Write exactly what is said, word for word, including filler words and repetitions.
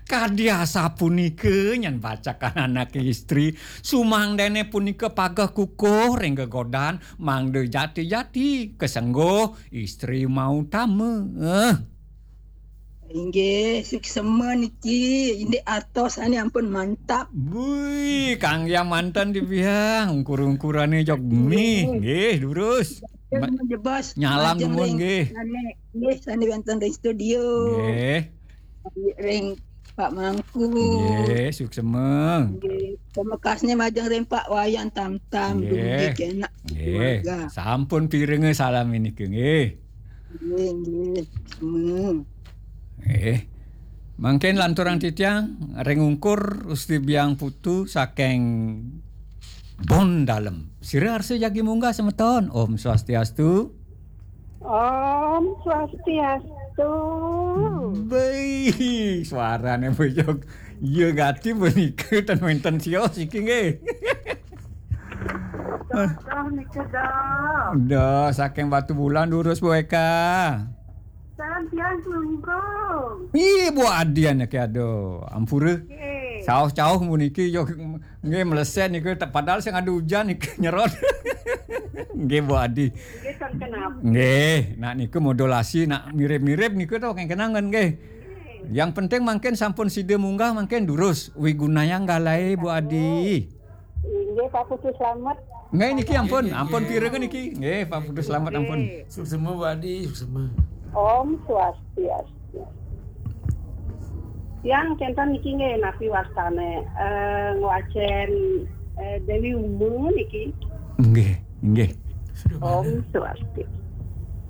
Kadi asapunika nyen bacakan anak istri, sumangdene punika pageh kukuh ring gegodan, mangda jati-jati kasengguh istri mautama. Eh. Inggih, suksema niki, indik artos ane ampun mantap. Bui, kangge manten di biang, ungkur-ungkurane jog mih, nggih, durus. Ma- Jebos, nyalam majeng dumun, ring nggih. Sane, nggih, sane wenten ring studio. Nggih. Ring Pak Mangku. Nggih, suksema. Nggih, pamekasne majeng ring Pak Wayan Tamtam, Nggih. dugi kenak Nggih. keluarga. Sampun pirenga salam nika, nggih. Nggih, nggih. Semua. Nggih. Mangkin lanturang titiang ring ungkur Gusti Biang Putu saking Bon Dalem. Sira arsa jagi munggah semeton. Om Swastiastu. Om Swastiastu. Bei, suarane bejog. Iya gati menika ten wenten sios iki nggih. Dah nika dah. Dah saking Batu Bulan durus Bu Eka. Salam tiang Klungkung. Ih, Bu Adi anake aduh, ampura. Nggih. Sauh-sauh puniki yo nggih meleset niku te- padahal sing ada hujan niku nyerot. Nggih Bu Adi. Nggih, kan kenapa? Nggih, nak niku modulasi nak mirip-mirip niku to kengkenangan nggih. Yang penting mangkin sampun sida munggah mangkin durus wigunayang galahe Bu Adi. Inggih, Pak Putu Slamet. Nggih niki ampun, ampun pirenga niki. Nggih, Pak Putu Slamet ampun. Nggih. Suksema Bu Adi, suksema. Om Swastiastu. Yang kenten niki nggih napi wastane eh ngwacen eh, Dewi Uma niki. Nggih, nggih. Sudah Om mana? Swastiastu.